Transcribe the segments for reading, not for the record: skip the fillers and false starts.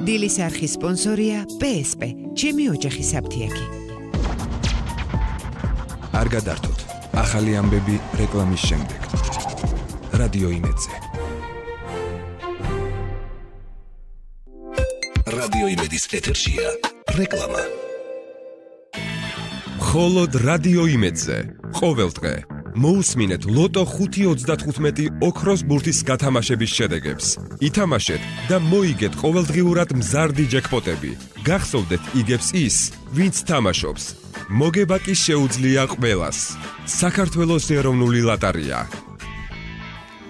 დილის არხის სპონსორია PSP, ჩემი ოჯახი საფთიაქი. არ გადართოთ, ახალი ამბები რეკლამის შემდეგ. რადიო იმედზე. რადიო იმედის ეთერშია რეკლამა. მხოლოდ რადიო იმედზე. ყოველდღე მოусმინეთ ლოტო 5.35 ოქროს ბურთის გათამაშების შედეგებს. ითამაშეთ და მოიგეთ ყოველდღიურად მზარდი ჯეკპოტები. გახსოვდეთ იგებს ის, ვინც თამაშობს. მოგება კი შეუძლია ყველას. საქართველოს ეროვნული ლოტარია.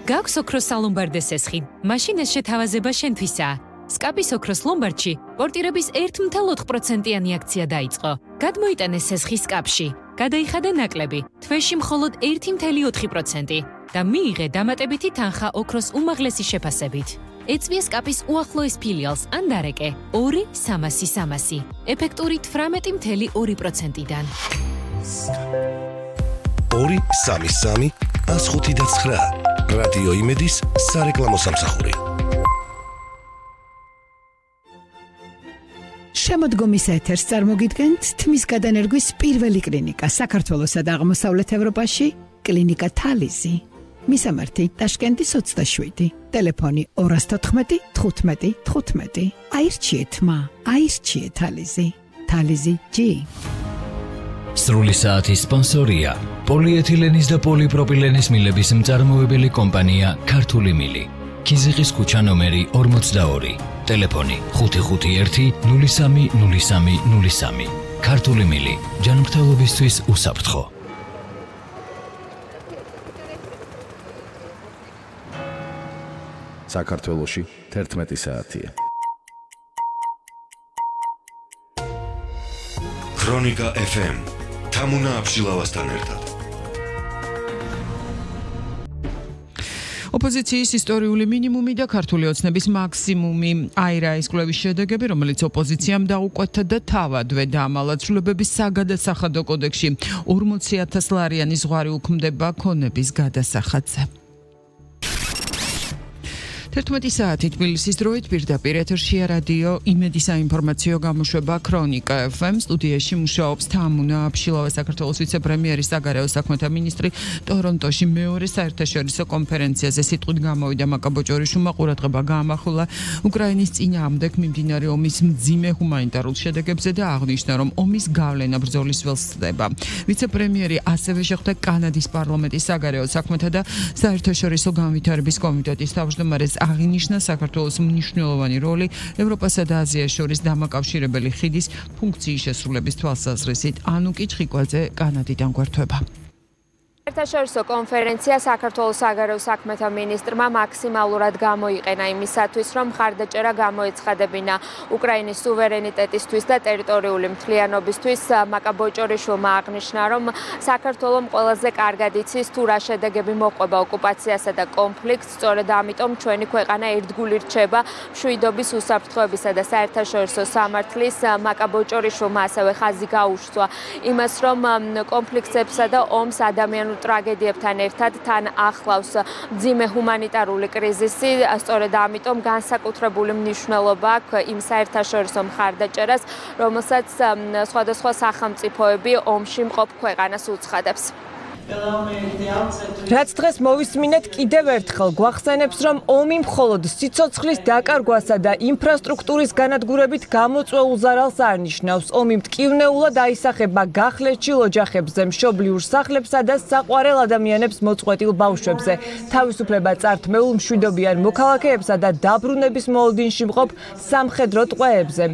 გაქვს ოქროს სალომბარდე სესხი. მაშინ ეს შეთავაზება შენთვისაა. სკაპის ოქროს ლომბარდში პორტირების 1.4%-იანი აქცია დაიწყო. გადმოიტანეს სესხი სკაპში. გადაიხადა ნაკლები, თვეში მხოლოდ 1.4% და მიიღე დამატებითი თანხა ოქროს უმაღლესი შეფასებით. ეწვია სკაპის უახლოეს ფილიალს ან დარეკე 2-300-300, ეფექტური 18.2%-დან. 2-3-3-105-9 რადიო იმედის სარეკლამო სამსახური. შემოდგომის ეთერს წარმოგიდგენთ თმის გადანერგვის პირველი კლინიკა საქართველოსა და აღმოსავლეთ ევროპაში, კლინიკა თალიზი. მისამართი ტაშკენტის 27, ტელეფონი 214 15 15. აირჩიეთ აირჩიეთ თალიზი. თალიზი G. სრული საათის სპონსორია პოლიეთილენის და პოლიპროპილენის მილების მწარმოებელი კომპანია ქართული მილი. ქიზიყის ქუჩა ნომერი 42, ტელეფონი 551 03 03 03. ქართული მილი, ჯანმრთელობისთვის უსაფრთხო. საქართველოში 11 საათია. ქრონიკა FM თამუნა აბშილავასთან ერთად. ოპოზიციის ისტორიული მინიმუმი და ქართული ოცნების მაქსიმუმი. აირა ის კვლევის შედეგები, რომელიც ოპოზიციამ დაუკვეთა და თავადვე დაამალა ცვლილებების საგადასახადო კოდექსში. 40,000 ლარიანი ზღვარი უქმდება ქონების გადასახადზე. 11 საათი თბილისის დროით პირდაპირ ეთერშია რადიო იმედის საინფორმაციო გამოშვება ქრონიკა FM. სტუდიაში მუშაობს თამუნა აბშილავა, საქართველოს ვიცე-პრემიერი, საგარეო საქმეთა მინისტრი. ტორონტოში მეორე საერთაშორისო კონფერენციაზე სიტყვით გამოვიდა მაკაბოჭორიშვილმა, ყურადღება გაამახვილა უკრაინის წინააღმდეგ მიმდინარე ომის მძიმე ჰუმანიტარულ შედეგებზე და აღნიშნა, რომ ომის გავლენა ბრძოლის ველს ხდება. ვიცე-პრემიერი ასევე შეხვდა კანადის პარლამენტის საგარეო საქმეთა და საერთაშორისო განვითარების კომიტეტის თავმჯდომარეს. აღინიშნა საქართველოს მნიშვნელოვანი როლი ევროპასა და აზიას შორის დამაკავშირებელი ხიდის ფუნქციის შესრულების თვალსაზრისით. ანუკი ჩხიკვაძე კანადიდან გვერდება. საერთაშორისო კონფერენცია საქართველოს საგარეო საქმეთა მინისტრმა მაქსიმალურად გამოიყენა იმისათვის, რომ მხარდაჭერა გამოეცხადებინა უკრაინის სუვერენიტეტისთვის და ტერიტორიული მთლიანობისთვის. მაკაბოჭორიშვილმა აღნიშნა, რომ საქართველოს ყველაზე კარგად იცის თუ რა შედეგები მოყვება ოკუპაციასა და კონფლიქტს, სწორედ ამიტომ ჩვენი ქვეყანა ერთგული რჩება მშვიდობის, უსაფრთხოებისა და საერთაშორისო სამართლის. მაკაბოჭორიშვილმა ასევე ხაზი გაუშვა იმას, რომ კონფლიქტებსა და ომს ადამიანურ ტრაგედიებთან ერთად თან ახლავს მძიმე ჰუმანიტარული კრიზისი. სწორედ ამიტომ განსაკუთრებული მნიშვნელობა აქვს იმ საერთაშორისო მხარდაჭერას, რომელსაც სხვადასხვა სახელმწიფოები ომში მყოფ ქვეყანას უცხადებს. რაც დღეს მოვისმინეთ კიდევ ერთხელ გვახსენებს, რომ ომი მხოლოდ სიცოცხლის დაკარგვასა და ინფრასტრუქტურის განადგურებით გამოწვეულ ზარალს არ ნიშნავს. ომი მტკივნეულად აისახება გახლეჩილ ოჯახებზე, მშობლიურ სახლებსა და საყვარელ ადამიანებს მოწყვეტილ ბავშვებზე, თავისუფლება წართმეულ მშვიდობიან მოქალაქეებსა და დაბრუნების მოლოდინში მყოფ სამხედრო ტყვეებზე.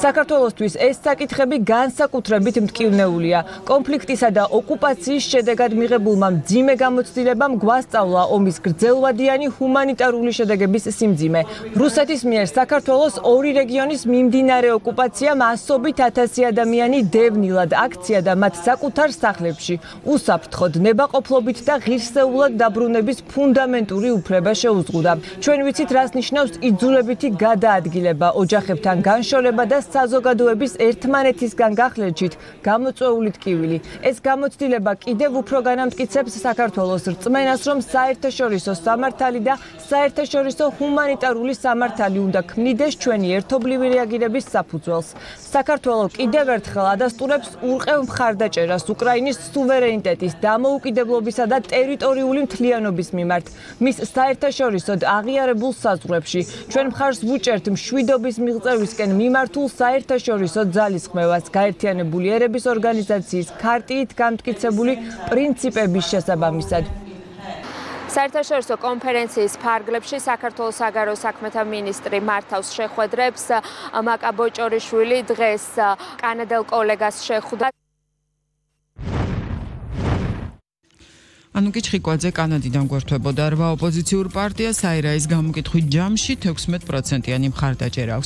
საქართველოსთვის ეს საკითხები განსაკუთრებით მტკივნეულია. კონფლიქტისა და ოკუპაციის შედეგად მიღებულმა მძიმე გამოცდილებამ გვასწავლა ომის გრძელვადიანი ჰუმანიტარული შედეგების სიმძიმე. რუსეთის მიერ საქართველოს ორი რეგიონის მიმდინარე ოკუპაციამ ასობით 1000 ადამიანი დევნილად აქცია და მათ საკუთარ სახლებში უსაფრთხოდ, ნებაყოფლობით და ღირსეულად დაბრუნების ფუნდამენტური უფლება შეუზღუდა. ჩვენ ვიცით, რას ნიშნავს იძულებითი გადაადგილება, ოჯახებთან განშორება და საზოგადოების ერთმანეთისგან გახლეჩით გამოწვეული ტკივილი. ეს გამოცდილება კიდევ უფრო განამტკიცებს საქართველოს რწმენას, რომ საერთაშორისო სამართალი და საერთაშორისო ჰუმანიტარული სამართალი უნდა ქმნიდეს ჩვენი ერთობლივი რეაგირების საფუძველს. საქართველოს კიდევ ერთხელ ადასტურებს ურყევ მხარდაჭერას უკრაინის სუვერენიტეტის, დამოუკიდებლობისა და ტერიტორიული მთლიანობის მიმართ. მის საერთაშორისოდ აღიარებულ საზღვრებში ჩვენ მხარს ვუჭერთ მშვიდობის მიღწევისკენ მიმართულ საერთაშორისო ძალისხმევას, გაერთიანებული ერების ორგანიზაციის ქარტიით გამტკიცებული პრინციპების შესაბამისად. საერთაშორისო კონფერენციის ფარგლებში საქართველოს საგარეო საქმეთა მინისტრი მართავს შეხვედრებს. მაკა ბოჭორიშვილი დღეს კანადელ კოლეგას შეხვდა. ანუკი ჩხიკვაძე კანადიდან გვერდებოდა 8 ოპოზიციურ პარტიას აირაის გამოკითხვით ჯამში 16%-იანი მხარდაჭერა აქვს.